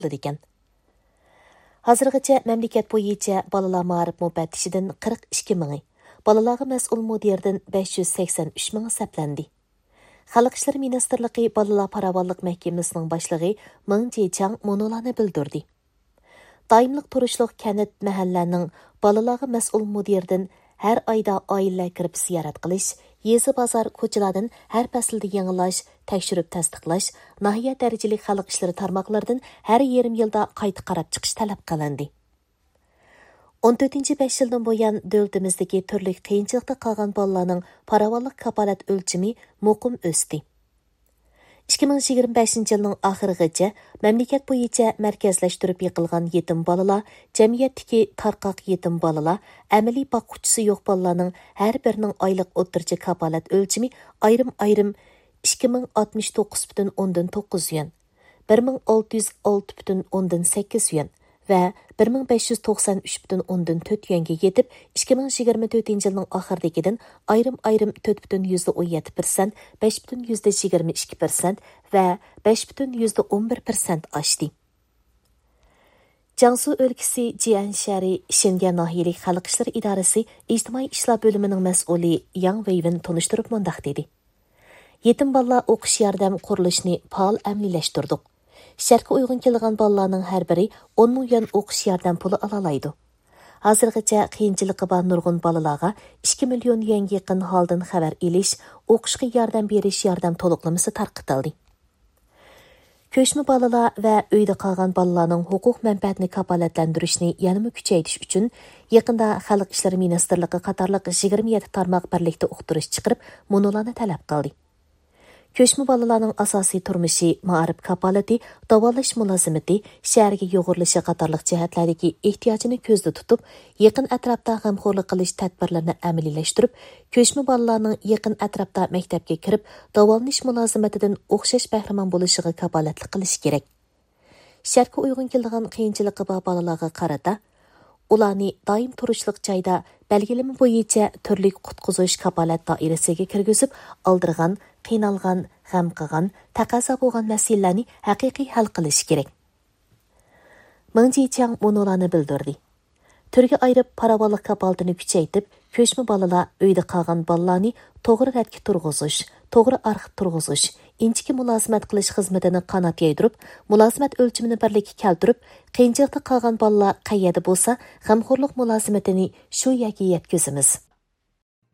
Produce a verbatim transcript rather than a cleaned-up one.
قىلىدىكەن. ھازىرغىچە مەملىكەت بويىچە بالىلار مائارىپ مۇپەتتىشىدىن قىرىق ئىككى مىڭى، بالىلارغا مەسئۇل مۇدىرىدىن بەش يۈز سەكسەن ئۈچ مىڭى سەپلەندى. خەلق ئىشلىرى مىنىستىرلىقى بالىلار پاراۋانلىق مەھكىمىسىنىڭ باشلىقى مېڭ جىچاڭ مۇنۇلارنى بىلدۈردى. دائىملىق تۇرۇشلۇق كەنت، مەھەللەنىڭ بالىلارغا مەسئۇل مۇدىرىدىن ھەر ئايدا ئائىلىلەر كىرىپ زىيارەت قىلىش، يېزا، بازار، كوچىلاردىن ھەر پەسىلدە يېڭىلاش، تەكشۈرۈپ تەستىقلاش، ناھىيە دەرىجىلىك خەلق ئىشلىرى تارماقلىرىدىن ھەر يېرىم يىلدا قايتا قاراپ چىقىش تەلەپ قىلىندى. ئون تۆتىنچى بەش يىلدىن بۇيان، دۆلىتىمىزدىكى تۈرلۈك قىيىنچىلىقتا قالغان بالىلارنىڭ پاراۋانلىق كاپالەت ئۆلچىمى مۇقىم ئۆستى. ئىككى مىڭ يىگىرمە بەشىنچى يىلنىڭ ئاخىرىغىچە مەملىكەت بويىچە مەركەزلەشتۈرۈپ يىغىلغان يېتىم بالىلار، جەمئىيەتتىكى تارقاق يېتىم بالىلار، ئەمەلىي باققۇچىسى يوق بالىلارنىڭ ھەر بىرىنىڭ ئايلىق ئوتتۇرىچە كاپالەت ئۆلچىمى ئايرىم-ئايرىم ئىككى مىڭ ئاتمىش توققۇز پۈتۈن ئوندىن توققۇز يۈەن، بىر مىڭ ئالتە يۈز ئالتە پۈتۈن ئوندىن سەككىز يۈەن ۋە بىر مىڭ بەش يۈز توقسان ئۈچ پۈتۈن ئوندىن تۆت يۈەنگە يېتىپ، ئىككى مىڭ يىگىرمە تۆتىنچى يىلنىڭ ئاخىرىدىكىدىن ئايرىم-ئايرىم تۆت پۈتۈن يۈزدە ئون يەتتە پىرسەنت، بەش پۈتۈن يۈزدە يىگىرمە ئىككى پىرسەنت ۋە بەش پۈتۈن يۈزدە ئون بىر پىرسەنت ئاشتى. جياڭسۇ ئۆلكىسى جيەن شەھىرى شېنگيەن ناھىيەلىك خەلق ئىشلىرى ئىدارىسى ئىجتىمائىي ئىشلار بۆلۈمىنىڭ مەسئۇلى ياڭ ۋېيۋېن تونۇشتۇرۇپ مۇنداق دېدى: يېتىم بالىلار ئوقۇش ياردەم قۇرۇلۇشىنى پائال ئەمەلىيلەشتۈردۇق. شەرتكە ئۇيغۇن كېلىدىغان بالىلارنىڭ ھەر بىرى ئون مىڭ يۈەن ئوقۇش ياردەم پۇلى ئالالايدۇ. ھازىرغىچە قىيىنچىلىقى بار نۇرغۇن بالىلارغا ئىككى مىليون يۈەنگە يېقىن ھالدىن خەۋەر ئېلىش، ئوقۇشقا ياردەم بېرىش ياردەم تولۇقلىمىسى تارقىتىلدى. كۆچمە بالىلار ۋە ئۆيدە قالغان بالىلارنىڭ ھوقۇق مەنپەئەتىنى كاپالەتلەندۈرۈشنى يەنىمۇ كۈچەيتىش ئۈچۈن، يېقىندا خەلق ئىشلىرى مىنىستىرلىقى قاتارلىق يىگىرمە يەتتە تارماق بىرلىكتە ئۇقتۇرۇش چىقىرىپ، مۇنۇلارنى تەلەپ قىلدى. كۆچمە بالىلارنىڭ ئاساسىي تۇرمۇشى، مائارىپ كاپالىتى، داۋالىنىش مۇلازىمىتى، شەھەرگە يۇغۇرۇلۇشى قاتارلىق جەھەتلەردىكى ئېھتىياجىنى كۆزدە تۇتۇپ، يېقىن ئەتراپتا غەمخورلۇق قىلىش تەدبىرلىرىنى ئەمەلىيلەشتۈرۈپ، كۆچمە بالىلارنىڭ يېقىن ئەتراپتا مەكتەپكە كىرىپ، داۋالىنىش مۇلازىمىتىدىن ئوخشاش بەھرىمەن بولۇشىغا كاپالەتلىك قىلىش كېرەك. شەرتكە ئۇيغۇن كېلىدىغان قىيىنچىلىقى بار بالىلارغا قارىتا، ئۇلارنى دائىم تۇرۇشلۇق جايدا بەلگىلىمە بويىچە تۈرلۈك قۇتقۇزۇش كاپالەت دائىرىسىگە كىرگۈزۈپ، ئالدىرىغان، قىينالغان، غەم قىلغان، تەقەززا بولغان مەسىلىلەرنى ھەقىقىي ھەل قىلىش كېرەك. مېڭ جىچياڭ مۇنۇلارنى بىلدۈردى: تۈرگە ئايرىپ، پاراۋانلىق كاپالىتىنى كۈچەيتىپ، كۆچمە بالىلار، ئۆيدە قالغان بالىلارنى توغرا رەتكە تۇرغۇزۇش، توغرا ئارخىپ تۇرغۇزۇش، ئىنچىكە مۇلازىمەت قىلىش خىزمىتىنى قانات يايدۇرۇپ، مۇلازىمەت ئۆلچىمىنى بىرلىككە كەلتۈرۈپ، قىيىنچىلىقتا قالغان بالىلار قەيەردە بولسا، غەمخورلۇق مۇلازىمىتىنى شۇ يەرگە يەتكۈزىمىز.